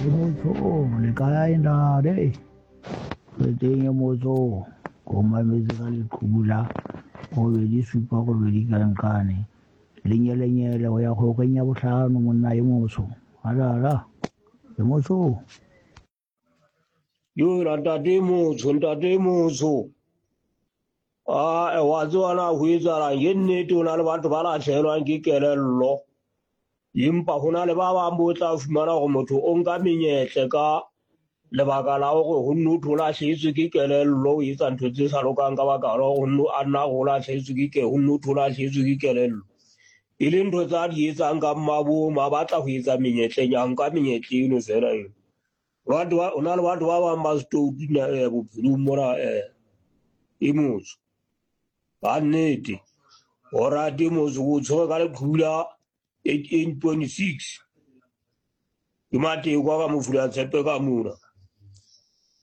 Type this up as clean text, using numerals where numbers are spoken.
E motho le kae ntate? Re teng e motho ko mametse ka leqhubu la robedi supa robedi ka nqane lenyelenyele ho ya kgoreng ya bohlano monna e motsho alala e motsho. Yo ntate motsho, ntate motsho. Ah, wa tseba na ho etsahalang? Ke nnete ho na le batho ba lahlehelwang ke kelello. Empa ho na le ba bang bo tla fumana hore motho o nka menyetle ka lebaka la hore ho nno thwe o lahlehetswe ke kelello, o etsa ntho tse sa lokang ka baka la hore ho nno a nna o lahlehetswe ke ke ho nno thwe o lahlehetswe ke kelello. E le ntho tsa di etsang ka mmabomo, a batla ho etsa menyetleng, a nka menyetla eno fela eo. Batho ba, ho na le batho ba bang ba setoutu bophelong mona e motsho. Ka nnete, o rate motso o tshwere ka leqhubu la 88.6. Ke mateko a ka mofula tshepe ka mona.